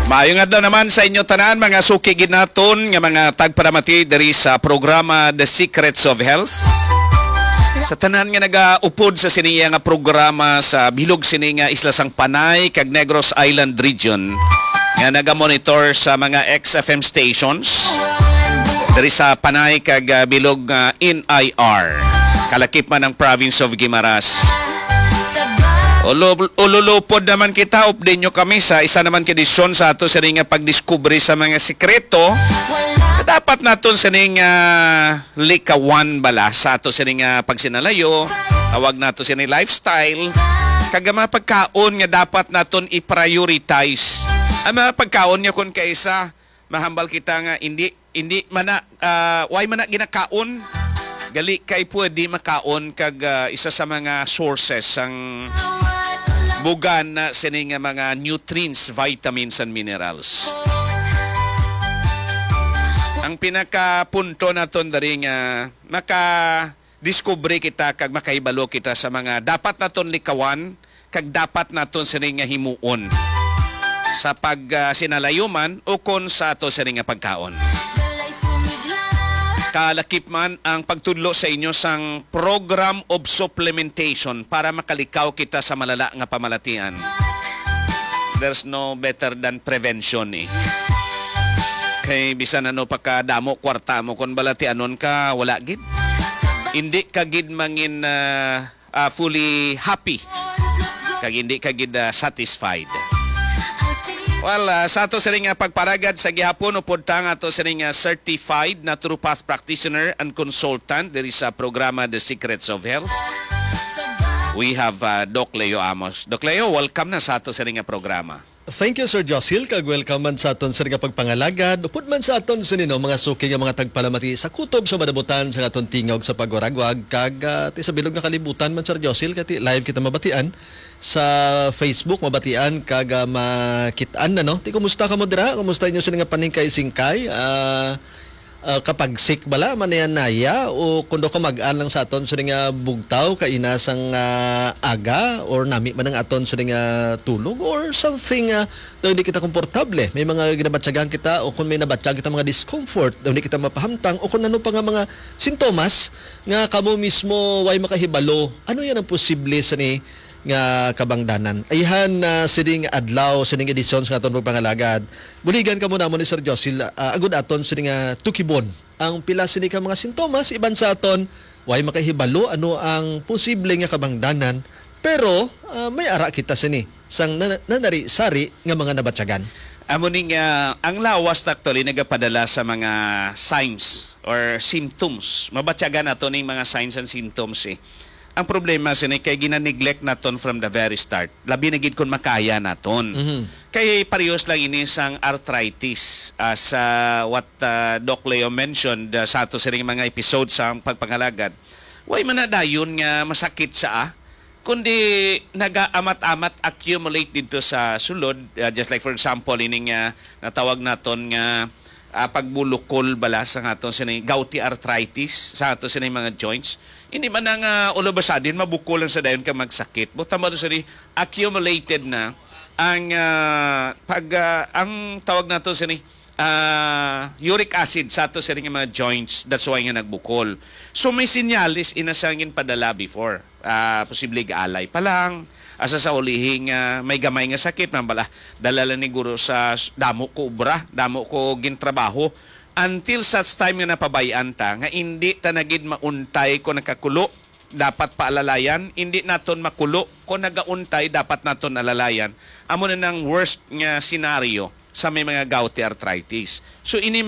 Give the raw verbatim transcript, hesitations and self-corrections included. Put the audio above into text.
Maayong adlaw naman sa inyo tanan, mga suki gid naton nga mga tagpalamati diri sa programa The Secrets of Health. Sa tanan nga nagaupod sa sini nga programa sa bilog sini nga isla sang Panay kag Negros Island region, nga nagamonitor sa mga X F M stations diri sa Panay kag, ah, bilog nga N I R, kalakip man ang province of Guimaras. Ulo-, ululupod naman kita, update nyo kami sa isa naman ka edisyon sa ato sini nga pagdiskubre sa mga sikreto na dapat naton sini nga likawan bala sa ato sini nga pagsinalayo, tawag nato sini lifestyle, kag ang mga pagkaon nga dapat naton i-prioritize. Ang mga pagkaon nga kun kaisa, mahambal kita nga hindi, hindi man na, ah, way man na ginakaon, gali kay pwede makaon kag, ah, isa sa mga sources sang bugan na sini nga mga nutrients, vitamins and minerals. Ang pinakapunto naton diri nga makadiskubre kita kag makahibalo kita sa mga dapat naton likawan kag dapat naton sini nga himuon sa pag, ah, sinalayo man ukon sa ato sini nga pagkaon. Kalakip man ang pagtudlo sa inyo sang program of supplementation para makalikaw kita sa malala nga pamalatian. There's no better than prevention, eh. Kay bisan ano pa kadamo kwarta mo, kon balatianon ka, wala gid. Hindi ka gid mangin, ah, ah, fully happy. Kag hindi ka gid, ah, satisfied. Well, ah, sa ato sini nga pagparagad sa gihapon, upod ta nga ato sini nga certified naturopath practitioner and consultant diri sa programa The Secrets of Health. We have, ah, Doc Leo Amos. Doc Leo, welcome na sa ato sini nga programa. Thank you, Sir Josil, kag welcome man sa aton sini nga pagpangalagad. Upod man sa aton sini, no, mga suki nga mga tagpalamati sa kutob sa madabutan sa aton tingog sa pagwaragwag, kag, ah, ti sa bilog nga kalibutan man, Sir Josil, kay ti live kita mabatian sa Facebook, mabatian kag, ah, makit-an na, no? Ti, kumusta kamo dira? Kumusta inyo sini nga paningkay-singkay? Ah, ah, kapag sick bala, manaya-naya, o kundo kamag-an lang sa aton sini nga bugtaw, kaina sang, ah, aga, or nami man ang aton sini nga tulog, or something, ah, daw hindi kita komportable. May mga ginabatyagan kita, o kung may nabatyag kita mga discomfort, daw hindi kita mapahamtang, o kung ano pa nga mga sintomas nga kamo mismo way makahibalo, ano yan ang posible sa ni nga kabangdanan. Ayhan na sining adlaw, sining edisyon sa aton pagpangalagad. Buligan kamo namon ni Sir Josil, ah, agud aton sini nga tukibon ang pila sini ka mga sintomas, iban sa aton, way makahibalo ano ang posible nga kabangdanan, pero, ah, may ara kita sini sang na-, nanari-sari nga mga nabatyagan. Amo ni nga, ang lawas actually nagapadala sa mga signs or symptoms. Mabatyagan nato ning mga signs and symptoms, eh. Ang problema sini kay gina-neglect naton from the very start. Labi na gid kun makaya naton. Mhm. Kay parehas lang ini sang arthritis, ah, sa what, ah, Doc Leo mentioned, ah, sa ato sining mga episode sa pagpangalagad. Way man na dayon nga masakit sa, ah, kundi nagaamat-amat, accumulate didto sa sulod, ah, just like for example ining, ah, natawag naton nga, ah, pagbulukol bala sa aton sini gouty arthritis sa aton sini mga joints. Hindi man na nga all of a sudden mabukol lang sa dayon ka magsakit. Buta mo sa accumulated na ang, ah, pag, ah, ang tawag nato sini, ah, uric acid sa ato sini nga mga joints. That's why nga nagbukol. So may sinyalis ina sa ginpadala before. Ah, posible gaalay pa lang. Asa sa ulihi nga may gamay nga sakit, man bala, dala lang ni guro sa s-, damo ko obra, damo ko gintrabaho. Until such time nga napabay-an ta, nga indi ta na gid mauntay kung nakakulo, dapat paalalayan, indi naton makulo kung nagauntay, dapat naton alalayan. Amo na nang worst nga senaryo sa may mga gouty arthritis. So, ini